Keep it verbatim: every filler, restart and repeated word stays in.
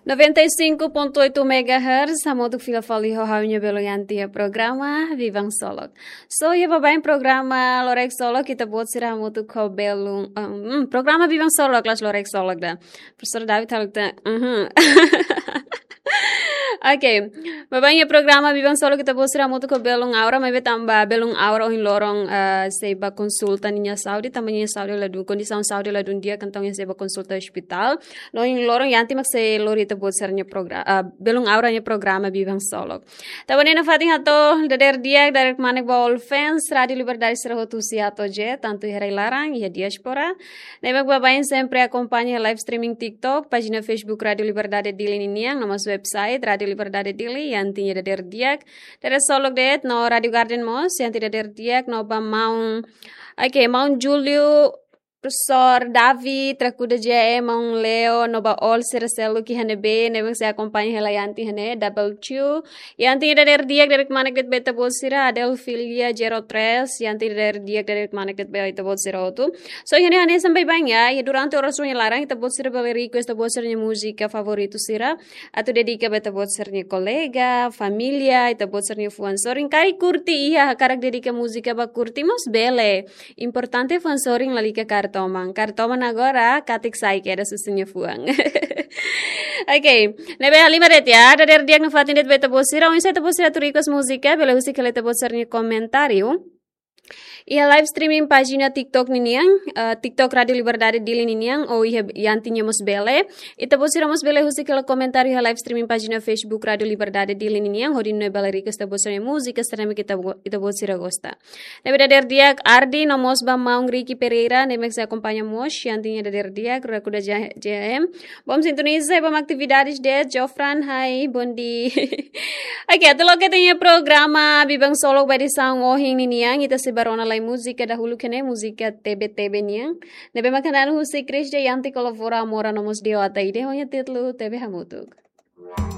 Noventa e cinco ponto oito megahertz, hamutuk fila fali ho ha'u-nia belun Yanti iha programa Biban Solok. So, iha baibain programa Lorek Solok, ita-boot sira hamutuk ho belun, um, hmm, programa Biban Solok, kelas Lorek Solok ida. Profesór David halo ta, mhm. Oke, baibain iha programa Biban Solok ita-boot sira hamutuk ho belun Aura, maibé tanba belun Aura ohin loron, eh, sei bá konsulta ninia saúde, tanba ninia saúde ladún, kondisaun saúde ladún di'ak, entaun sei bá konsulta ospitál. No ohin loron Yanti mak sei lori ita-boot sira-nia progra-, ah, belun Aura nia programa Biban Solok. Tanba ne'e nafatin hato'o dadeer di'ak, dadeer kmanek ba all fans Rádio Liberdade sira hotu husi A to'o Z, tantu iha rai-laran, iha diáspora. Ne'ebé baibain sempre akompaña live streaming TikTok, pájina Facebook Rádio Liberdade Dili ninian, no mós website Rádio Liberdade Dili, Yanti nia dadeer di'ak, dadeer solok de'it, no Rádio Garden mós, Yanti dadeer di'ak, no ba maun, oke, maun Júlio, Profesór David, Rakuda J M, maun Leo, no ba all sira seluk iha ne'ebé, ne'ebé sei akompaña hela Yanti iha ne'e, Double Two. Yanti nia dadeer di'ak, dadeer kmanek de'it ba ita-boot sira, Adelfilia Zero Tres, Yanti nia dadeer di'ak, dadeer kmanek de'it ba ita-boot sira hotu. So, iha ne'e hanesan baibain ya, iha durante oras rua nia laran, ita-boot sira bele request ita-boot sira-nia múzika favoritu sira, atu dedika ba ita-boot sira-nia kolega, família, ita-boot sira-nia fuan sorin. Karik kurti iha, hakarak dedika múzika ba kurti mós bele. Importante fuan sorin lalika kaer toman. Kaer toman agora, katik sai kedas husi nia fuan. Oke, ne'ebé halimar de'it ya, dadeer di'ak nafatin de'it ba ita-boot sira, oinsá ita-boot sira atu request múzika, bele husik hela ita-boot sira-nia komentáriu iha live streaming pájina TikTok ninian, eh, TikTok Rádio Liberdade Dili ninian, ou iha Yanti nia mós bele. Ita-boot sira mós bele husik hela komentáriu iha live streaming pájina Facebook Rádio Liberdade Dili ninian, hodi nune'e bele request ita-boot sira-nia múzika, sira ne'ebé ita-bo-, ita-boot sira gosta. Ne'ebé dadeer di'ak Ardi, no mós ba maun Ricky Pereira, ne'ebé sei akompaña mós, Yanti nia dadeer di'ak, Rakuda J-, J M. Bom sintoniza, bom atividades de'it, Jofran, hai, bom dia. Oke, atu loke ita-nia programa Biban Solok ba edisaun ohin ninian, ita sei bá rona lai múzika dahuluk ne'e, múzika T B T B nian. Ne'ebé mak hanesan husi Chris J Yanti kolabora Mora no mós Dio Ataide, ho nia títulu T B Hamutuk.